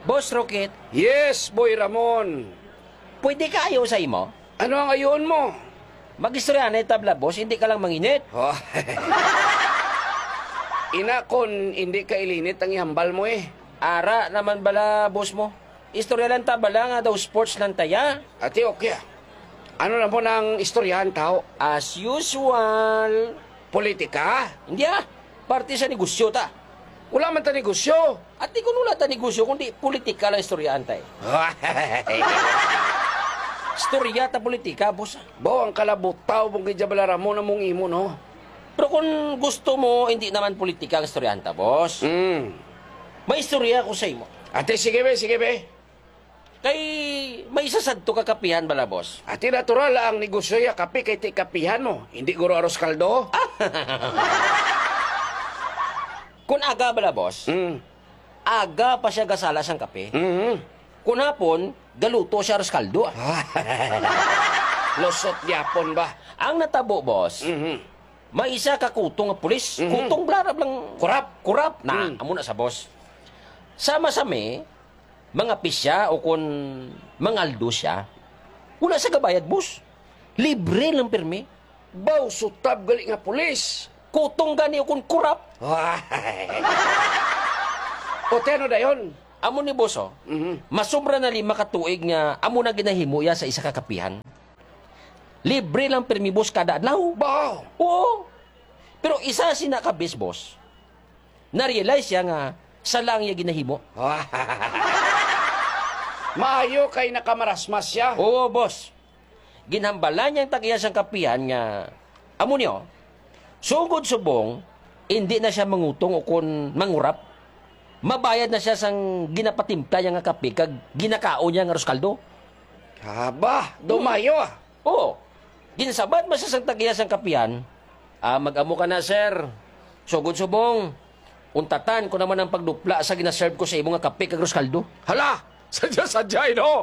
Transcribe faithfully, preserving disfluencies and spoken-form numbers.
Boss Rocket. Yes, Boy Ramon. Pwede ka ayo sa imo? Ano ang ayoon mo? Mag-istoryahanay ta bala, boss, hindi ka lang manginit. Oh. Ina, kon hindi ka ilinit ang ihambal mo eh. Ara naman bala, boss mo. Istorya lang ta bala nga daw sports lang taya. Ati, okay ah. Ano lang po nang istoryahan tao? As usual. Politika? Hindi ah. Parte sa negosyo ta. Wala man ta negosyo. Ati, kung wala ta negosyo, kundi politika lang istoryahan ta eh. Istorya ta politika, boss ah. Bo, ang kalabutaw mong gidya bala Ramon among imo, no? Pero kung gusto mo, hindi naman politika ang istoryahan ta, boss. Mm. May istorya ko sa imo. Ate, sige be, sige be. Kay may isa sadto ka kapihan bala, boss. Ati, natural ang negosyo ya kape kay ti kapihan mo. Hindi guro aros kaldo. Kun aga bala, boss, Mm. aga pa siya gasala sang kape. Mhm. Kun hapon, galuto siya aros kaldo, ah. Lusot gyapon ba? Ang natabo, boss, Mhm. may isa ka kutong nga pulis. Mhm. Kutong blarab lang. Kurap. Kurap na. Mm. Amo na sa, boss. Sama sa mi, mga pisya o kun mangaldo siya, wala siya gabayad, boss. Libre lang pirmi. Baw, sutab gali nga pulis. Kutong gani o kun kurap. Ay. O, ti ano dayon? Amo ni, boss, oh. Mhm. Masubra na lima ka tuig nga amo na ginahimo iya sa isa ka kapihan. Libre lang pirmi, boss, kada adlaw. Baw. Oo. Pero isa sina ka bes, boss, na-realize siya nga sala ang iya ginahimo. Maayo kay nakamarasmas siya. Oo, boss. Ginhambalan niya ang tag-iya sang kapihan nga, amo niyo, sugod subong, indi na siya mangutong o kon mangurap. Mabayad na siya sang ginapatimpla niya nga kape kag ginakaon niya nga aros kaldo. Haba, dumayo ah. Oo. Ginsabat man siya sang tag-iya sang kapihan, "Ah, mag-amo ka na, sir. Sugod subong, untatan ko naman ang pagdupla sa ginaserve ko sa imo nga kape kag aros kaldo." Hala! Sadya-sadya, eh, no?